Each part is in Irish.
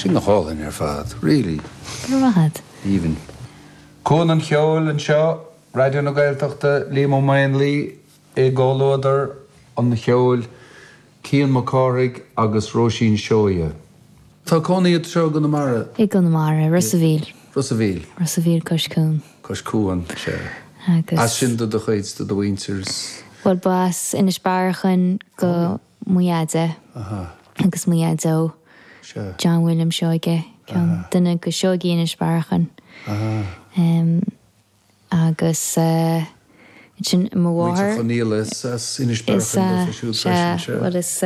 Sin go hálainn ar fad, really. Go raibh maith agat. Aoibhinn. Cuan an Cheoil anseo, Raidió na Gaeltachta, Liam Ó Maonlaí i gcomhluadar an cheoil, Cian Mac Cárthaigh agus Róisín Seoighe. Tá cónaí ort anseo i gConamara? I gConamara, Ros a' Mhíl. Ros a' Mhíl. Ros a' Mhíl cois cuain. Cois cuain, sea. Agus. As sin do do chuid, do do mhuintir is. Bhuel, ba as Inis Bearachain do mo dheaide. Aha. Agus mo dheaideo. Sea. John William Seoige, ceann duine de Seoigí Inis Bearachain. Aha. Agus ansin mo mháthair. Muintir Chonaola is as Inis Bearachain daofa siúd freisin, sea. Bhuel is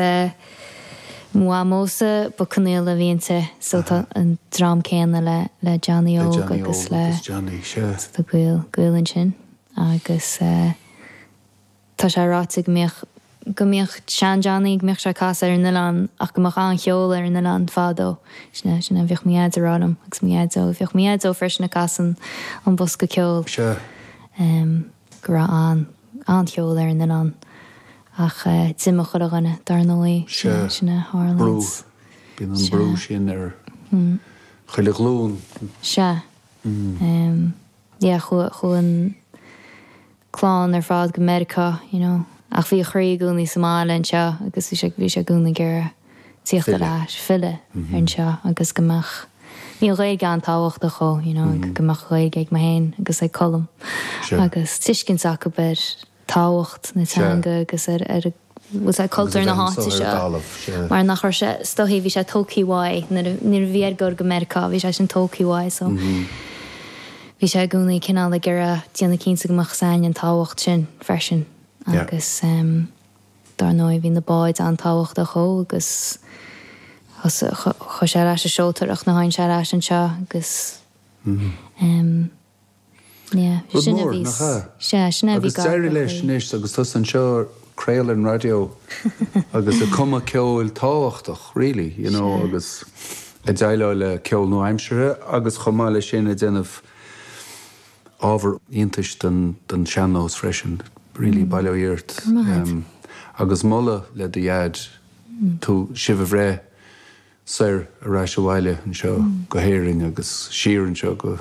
mo mhamósa ba Conaola a bhí inti so tá an dream céanna le le Johnny Óg agus le agus Johnny, sea. So tá gaol gaol ansin agus. Tá sé ráite go mbíodh, go mbíodh sean-Johnny, go mbíodh sé ag casadh ar an oileán ach go mbeadh an-cheol ar an oileán fadó. Sin é, sin é a bhíodh mo dhaid ag rá liom agus mo dhaideo. Bhíodh mo dhaideo freisin ag casadh an bosca ceoil. Sea. Go raibh an, an-cheol ar an oileán ach d'imigh chuile dhuine, dar ndóigh. Sin é, Sea. sin é a tharlaíonns. Brú. Bíonn an brú sin ar chuile ghlúin. Sea. Yeah, chuaigh, chuaigh an. clann ar fad go Meiriceá, you know. Ach bhí a chroí i gcónaí sa mbaile anseo agus bhí sé, bhí sé i gcónaí ag iarraidh tíocht ar ais, filleadh anseo agus go mbeadh, bhí an Ghaeilge an-tábhachtach dhó, you know, go mbeadh Gaeilge ag mé féin agus ag Colm agus tuiscint acu ar tábhacht na teanga agus ar, ar bhfuil sé cultúr na háite seo mar nach raibh sé, is dóichí bhí sé tógtha uaidh nuair a nuair a bhí air dul go Meiriceá bhí sé sin tógtha uaidh so bhí sé i gcónaí cineál ag iarraidh déanamh cinnte go mbeadh a fhios againn an tábhacht sin freisin agus dar ndóigh bhí na báid an-tábhachtach dhó agus chuaigh sé ar ais ag seoltóireacht nuair a tháinig sé ar ais anseo agus Yeah, Rud sin a mór, bhí, nach ea? sea, sin a bhí Agus gar do d'éirigh leis chroí. anois agus tusa anseo ag craoladh ar an raidió agus ag cumadh ceoil tábhachtach, really, you know, Sea. agus ag déileáil le ceol nua-aimseartha agus chomh maith leis sin ag déanamh ábhar iontais don don sean-nós freisin, really, bail ó Dhia ort. Go raibh maith agat. Agus moladh le do dhaid tú, sibh a bhreith soir ar ais abhaile anseo go hÉirinn agus siar anseo go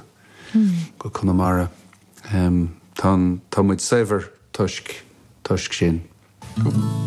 go Conamara. Tá an, tá muid saibhir toisc, toisc sin.